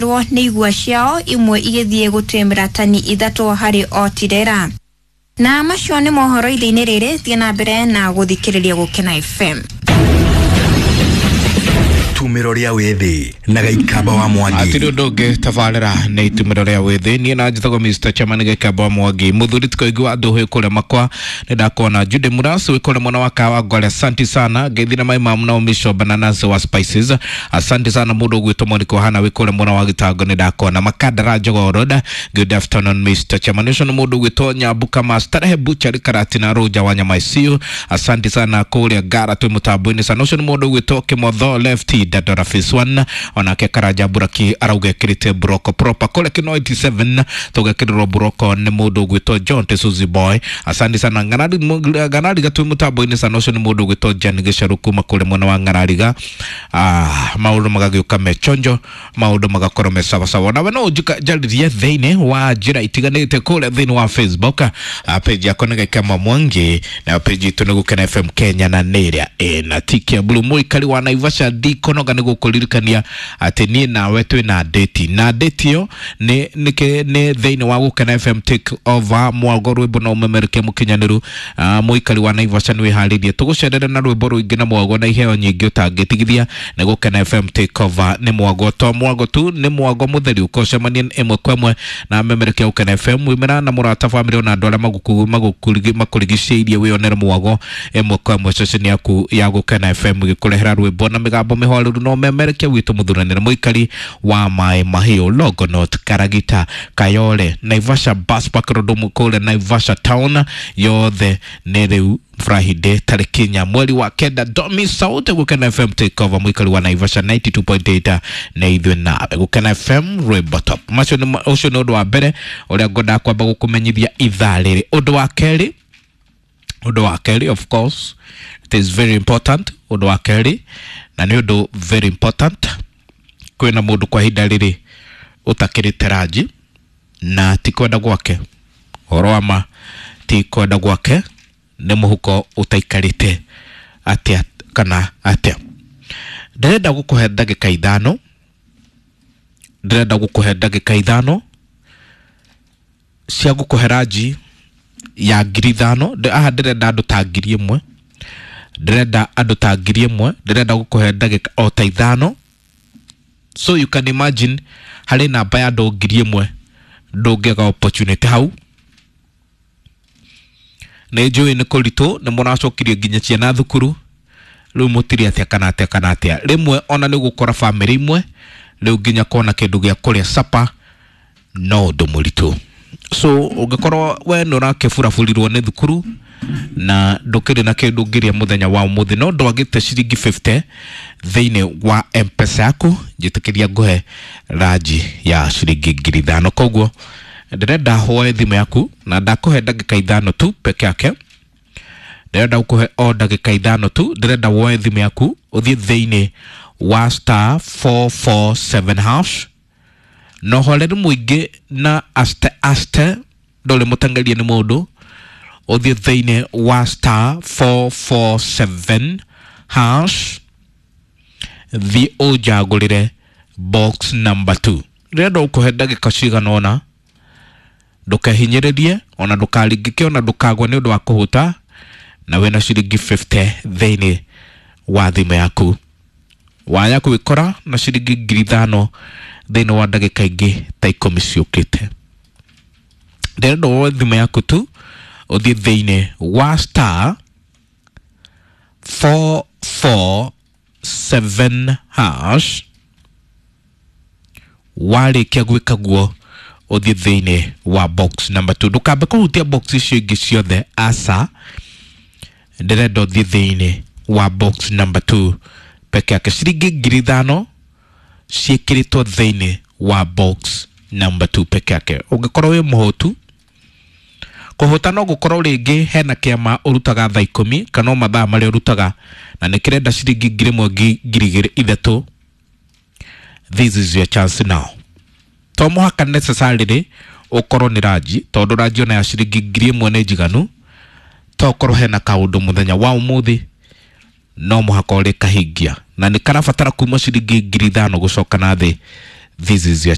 Nĩ igua ciao imwe igĩthiĩ gũtĩmĩra tani 3 harĩ o tirera. Na macio nĩ mohoro ithe-inĩ rĩrĩ, thiĩ na mbere na gũthikĩrĩria Gũkena FM. Itumĩro rĩa wĩthĩ na Gaikamba wa Mwangi. Atirĩ ũndũ ũngĩ tabarĩra nĩ itumĩro rĩa wĩthĩ. Niĩ na njĩtagwo Mr. Chairman Gaikamba wa Mwangi, mũthuri tikoingĩ wa andũ kũrĩa makwa. Nĩ ndakuona Jude Muras wĩ kũrĩa mwena wa Kawa Ngwale, asante sana. Ngeithi na maimamu na Umisho Bananasi wa Spices, asante sana. Mũndũ ũgwĩtwo Monica Ohana wĩ kũrĩa mwena wa Gĩtango, nĩ ndakuona Makandara Jogoo Road. Good afternoon, Mr. Chairman. Ũcio nĩ mũndũ ũgwĩtwo Nyambuka Master Buchari Karatina Roja wa Nyama ICU, asante sana. Kũrĩa Ngara twĩ mũtambo-inĩ sana. Ũcio nĩ mũndũ ũgwĩtwo Kĩmotho Left Dadora Phase 1, onake Karanja Buraki arauga ekĩrĩte buroko proper kũrĩa Kino 87, tũgekĩrĩrwo buroko nĩ mũndũ ũgwĩtwo John Tesuzi Boy, asante sana. Ng'arariga twĩ mũtambo-inĩ sana. Ũcio nĩ mũndũ ũgwĩtwo Jan Gĩcaru kuma kũrĩa mwena wa Ng'arariga. Maũndũ magagĩũka me chonjo, maũndũ magakorwo me sawasawa. Nawe no ũnjarĩrie thĩinĩ wa njĩra itiganĩte kũrĩa thĩinĩ wa Facebook, page yakwa nĩ Gaikamba Mwangi, na page itũ nĩ Gũkena FM Kenya, na nĩ ĩrĩa ĩna tiki ya blue. Mũikari wa Naivasha ndikonoga nĩ gũkũririkania atĩ niĩ nawe twĩ na date, na date ĩyo nĩ nĩ thĩinĩ wa Gũkena FM Take Over mwago rwĩmbo na ũmemerekia mũkinyanĩru. Mũikari wa Naivasha nĩ wĩharĩrie tũgũcerere na rwĩmbo rũingĩ na mwago na iheo nyingĩ ũtangĩtigithia. Nĩ Gũkena FM Take Over, nĩ mwago to mwago tu, nĩ mwago mũtheri ũkocemania ĩmwe kwa ĩmwe na memerekia Gũkena FM wĩmera na mũrata, bamĩrĩ ona andũ arĩa makũrigicĩirie, wĩonere mwago ĩmwe kwa ĩmwe ceceni yaku ya Gũkena FM gĩkũrehera rwĩmbo na mĩgambo mĩhoreru no memerekia witũ mũthuranĩre. Mũikari wa Maĩ Mahiũ, Longonot, Karagita, Kayole, Naivasha Bus Park Road, kũrĩa Naivasha town yothe, nĩ rĩu Friday tarĩki 4 mweri wa 9. Domi Sauti Gũkena FM Take Over, mũikari wa Naivasha 92.8 nĩ ithuĩ nawe Gũkena FM rwĩmbo top. Macio nĩ ũcio nĩ ũndũ wa mbere ũrĩa ngwendaga kwamba gũkũmenyithia ithaa rĩrĩ. Ũndũ wa kerĩ, ũndũ wa kerĩ, of course it is very important. Ũndũ wa kerĩ na nĩ ũndũ very important, kwĩna mũndũ kwa ihinda rĩrĩ ũtakĩrĩte ranji na ti kwenda gwake, ũhoro wa ma ti kwenda gwake, nĩ mũhuko ũtaikarĩte atĩa kana atĩa. Ndĩrenda gũkũhe ndagĩka 5, ndĩrenda gũkũhe ndagĩka 5 cia gũkũhe ranji ya 5,000. Aha ndĩrenda andũ ta 1,000, ndĩrenda andũ ta 1,000, ndĩrenda gũkũhe ndagĩka o ta 5. So you can imagine harĩ namba ya andũ 1,000 ndũngĩaga opportunity hau. Nĩ njũĩ nĩ kũritũ, nĩ mũracokirie nginya ciana thukuru, rĩu mũtirĩ atĩa kana atĩa kana atĩa. Rĩmwe ona nĩ gũkora bamĩrĩ imwe rĩu nginya kuona kĩndũ gĩa kũrĩa sapa no ũndũ mũritũ. So ũngĩkorwo we nĩ ũrakĩburaburirwo nĩ thukuru na ndũkĩrĩ na kĩndũ ũngĩrĩa mũthenya wa ũmũthĩ, no ndwagĩte ciringi 50 thĩinĩ wa M-Pesa yaku, njĩtĩkĩria ngũhe ranji ya ciringi 5,000. Koguo ndĩrenda woe thimũ yaku na ndakũhe ndagĩka 5 tu peke yake, ndĩrenda gũkũhe o ndagĩka 5 tu. Ndĩrenda woe thimũ yaku ũthiĩ thĩinĩ wa star 447 hash na ũhoreru mũingĩ na aste aste, ndũrĩ mũteng'erie nĩ mũndũ, ũthiĩ thĩinĩ wa star 447 hash, thiĩ ũnjagũrĩre box number 2. Ndĩrenda gũkũhe ndagĩka cigana ũna, ndũkehinyĩrĩrie ona ndũkaringĩke ona ndũkagwe nĩ ũndũ wa kũhũta, na wĩna ciringi 50 thĩinĩ wa thimũ yaku. Waya gwĩkora na ciringi 5,000 thĩinĩ wa ndagĩka ingĩ ta 10 ciũkĩte. Ndĩrenda woe thimũ yaku tu ũthiĩ thĩinĩ wa star 447 hash, warĩkia gwĩka guo ũthiĩ thĩinĩ wa box number 2. Ndũkambe kũhutia box icio ingĩ ciothe, aca, ndĩrenda ũthiĩ thĩinĩ wa box number 2 peke yake. Ciringi 5,000 ciĩkĩrĩtwo thĩinĩ wa box number 2 peke yake. Ũngĩkorwo wĩ mũhũtu, kũhũta no gũkorwo rĩngĩ hena kĩama ũrutaga thaa 10 kana o mathaa marĩa ũrutaga na nĩ kĩrenda ciringi 1,000, 2,000, 3,000, this is your chance now. To mũhaka necessarily ũkorwo nĩ ranji, tondũ ranji ona ya ciringi 1,000 nĩ njiganu. To ũkorwo hena kaũndũ mũthenya wa ũmũthĩ no mũhaka ũrĩkahingia na nĩ karabatara kuma ciringi 5,000 gũcoka na thĩ. This is your